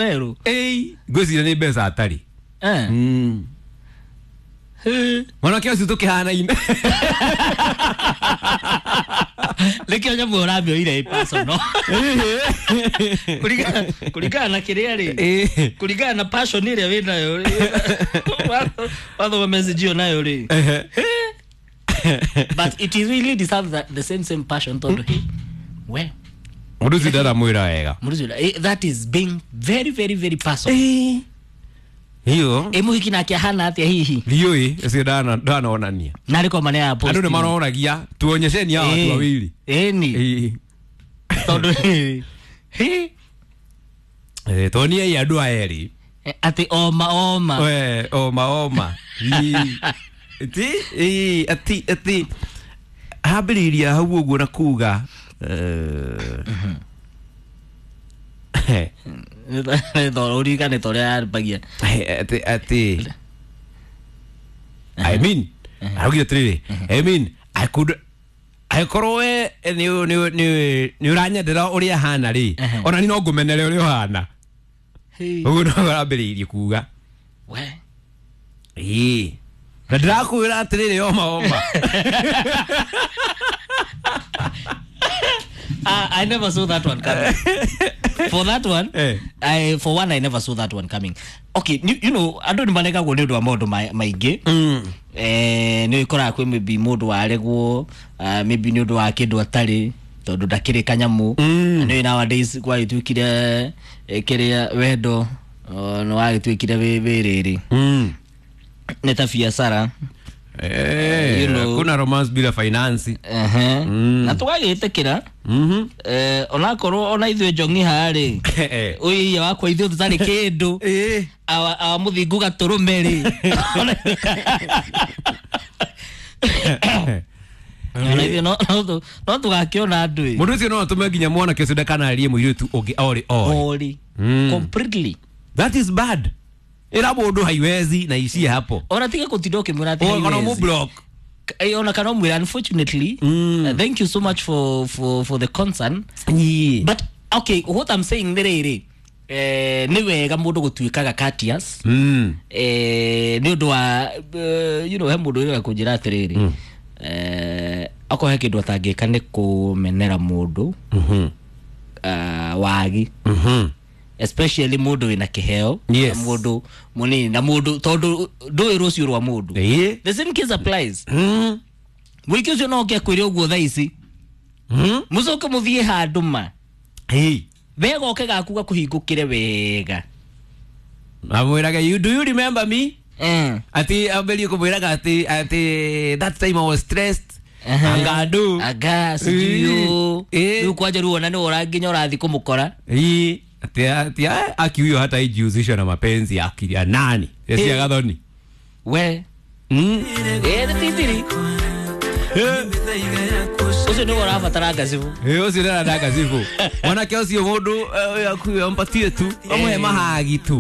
Arerwo. Ĩi, ngwĩciria nĩ mbeca atarĩ. Eh. Mwanake ũcio tũkĩhanaine. Nĩkĩo nyamũ ũramĩoire ĩ personal. Kũringana na kĩrĩa rĩ, Ĩĩ. kũringana na passion ĩrĩa wĩnayo rĩ, wathoma message ĩyo nayo rĩ. Ehe. But it is really deserves that, the same passion tondũ he we Mũndũ ũcio ndaramwĩra wega. mũndũ ũcio, that is being very very very personal. Hiyo. Ĩ mũhiki nake ahana atĩa hihi? Ndiũĩ, ũcio ndanonania. Narĩ kwa manea ya post. Andũ nĩ maroragia tuonyesheni hawa watu wawili. Ĩni. Ĩĩ. Tondũ he Tuoniei andũ aya erĩ. Atĩ oma oma. We, oma oma. Ĩĩ. Ti, ĩĩ, ati ati hambĩrĩiria hau ũguo na kuga Ũririkane ta ũrĩa yambagia. Ati ati I mean, araugire atĩrĩrĩ, I mean, I could angĩkorwo we nĩ ũranyendera ũrĩa hana rĩ, ona ni no ngũmenere ũrĩa ũhana. Ũguo no arambĩrĩirie kuga. We. Ĩĩ. Na ndĩrakwĩra atĩrĩrĩ, oma oma. I never saw that one coming. For that one, Eh. I for one I never saw that one coming. Okay, you know, andũ nĩ maregagwo nĩ ũndũ wa maũndũ maingĩ. Nĩ ũkoraga kwĩ maybe mũndũ waregwo, maybe nĩ ũndũ wa kĩndũ atarĩ tondũ ndakĩrĩ kanyamũ. Nĩ nowadays gwagĩtuĩkire kĩrĩa wendo nĩ wagĩtuĩkire wĩ rĩrĩ. Nĩ ta biacara. You know. Kuna romance bila finance. Ehe. Na tũgagĩtĩkĩra. Onakorwo ona ithuĩ njong'i harĩ ũyũ wakwa ithuĩ tũtarĩ kĩndũ, awa mũthingu gatũrũme rĩ, ona ithuĩ no tũgakĩona andũ ĩ. Mũndũ ũcio no atũme nginya mwanake ũcio ndakanarie mũirĩtu ũngĩ orĩ orĩ. Ori completely. That is bad. Ĩra mũndũ haiwezi na ishie hapo. Ona tiga kũtinda ũkĩmwĩra atĩ Ona haiwezi. mũblock. Ona kana ũmwĩre unfortunately, thank you so much for the concern. But okay, what I'm saying nĩ rĩrĩ, nĩ wega mũndũ gũtuĩkaga courteous. Nĩ ũndũ wa you know, he mũndũ ũrĩa kũnjĩra atĩrĩrĩ, akorwo he kĩndũ atangĩka nĩ kũmenera mũndũ wagi, especially mũndũ wĩna kĩheo, Yes. na mũndũ mũnini na mũndũ tondũ ndũĩ rũciũ rwa mũndũ. Ĩĩ. The same case applies. Mũingĩ ũcio no oke akwĩre ũguo thaa ici, mũcoke mũthiĩ handũ ma Ĩĩ. wega oke gaku gakũhingũkĩre wega. Amwĩraga, you do you remember me? Ati ambĩrie kũmwĩraga ati that time I was stressed. Anga andũ. Anga sijui Ĩĩ. rĩu kwanja rĩu ona nĩ ũranginya ũrathiĩ kũmũkora. Ĩĩ. Ati aki huyo hata ijihusisha na mapenzi ya akili ya nani? Esi ya gathoni. We. Ĩ nĩ titiri ũcio nĩwe ũrabatara ngacibũ. Ĩ ũcio ndaranda ngacibũ. Mwanake ũcio mũndũ akuye ampatie tu. Amũhe mahagi tu.